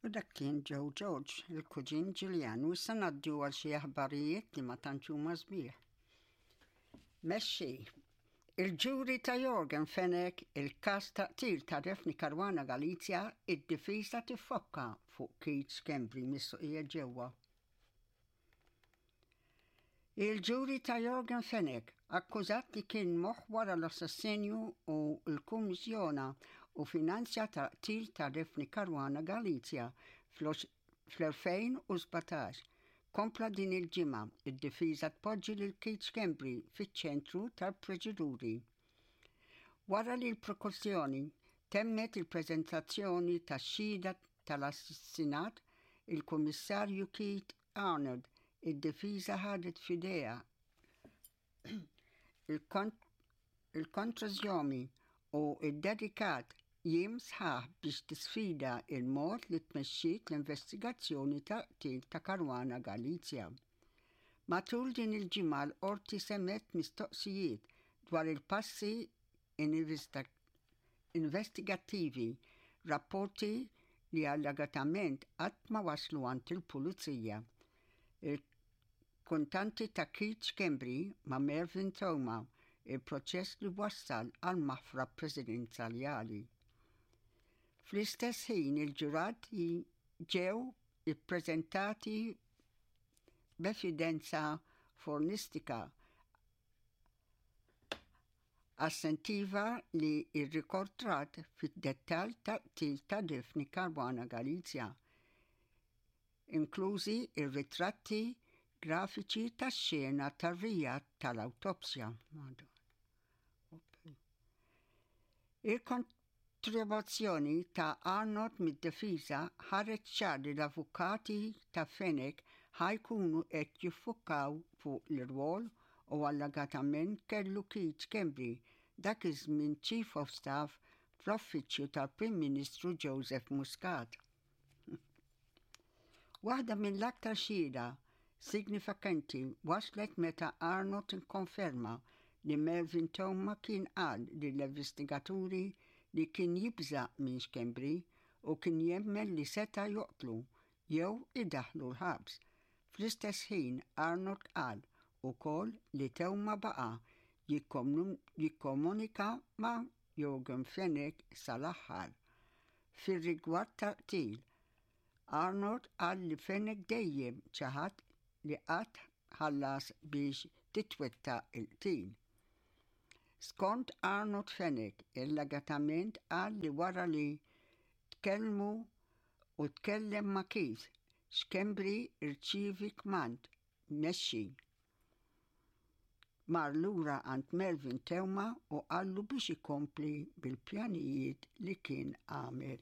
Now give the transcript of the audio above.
U dak kien Joe George, il-kuġin Ġiljan, u issa ngħaddu għal xi aħbarijiet li ma tantx huma sbieħ. Mexxi, il-ġuri ta' Yorgen Fenech, il-każ ta' qtil ta' Daphne Caruana Galizia, id-difiża tiffokka fuq Keith Schembri mistoqsija ġewwa. Il-ġuri ta' Yorgen Fenech, akkużat li kien moħħ wara l-assassinju u l-kummissjona u finanzja tal-qtil ta' Daphne Caruana Galizia fl-2017, kompla din il-ġimgħa, id-difiża tpoġġi lil Keith Schembri fiċ-ċentru tal-proċeduri. Wara li l-prokuzzjoni temmet il-preżentazzjoni tax-xhieda tal-assassinat, il-Kummissarju Keith Arnaud, id-difiża ħadet f'idejha il-kontrożjomi u ddedikat jiem sħaħ biex tisfida l-mod li tmexxiet l-investigazzjoni tal-qtil ta' Caruana Galizia. Matul din il-ġimgħa l-Qorti semgħet mistoqsijiet dwar il-passi investigattivi, rapporti li allegatament qatt ma waslu għand il-Pulizija. Il-kuntanti ta' Keith Schembri ma' Mervyn Theuma, il-proċess li wassal għal maħfra presidenzjali. Fl-istess ħin il-ġurati ġew ippreżentati b'evidenza fornistika Assentiva li rrikortrat fid-dettall tal-qtil ta' Daphne Caruana Galizia, inklużi r-ritratti grafiċi tax-xena tar-reat tal-awtopsja. Kontribuzzjoni ta' Arnaud mid-difiża ħareġ ċar li l-avukati ta' Fenech ħa jkunu qed jiffukaw fuq l-irwol u allegatament kellu Keith Schembri, dak iż-żmien Chief of Staff fl-Uffiċċju tal-Prim Ministru Joseph Muscat. Waħda mill-aktar xhieda signifikenti waslet meta Arnott ikkonferma li Mervyn Theuma kien qal lill-investigaturi li kien jibża' minn Schembri u kien jemmen li seta' joqtlu jew idaħħlu l-ħabs. Fl-istess ħin Arnott qal ukoll li Theuma baqa' jikkomunika ma' Yorgen Fenech sal-aħħar. Fir-rigward tal-qtil, Arnaud qal li Fenech dejjem ċaħad li qatt ħallas biex titwettaq il-qtil. Skont Arnaud Fenech allegatament qal li wara li tkellmu u tkellem ma' Keith, Schembri rċievi kmand mexxi. Mar lura għand Melvin Theuma u qallu biex ikompli bil-pjanijiet li kien għamel.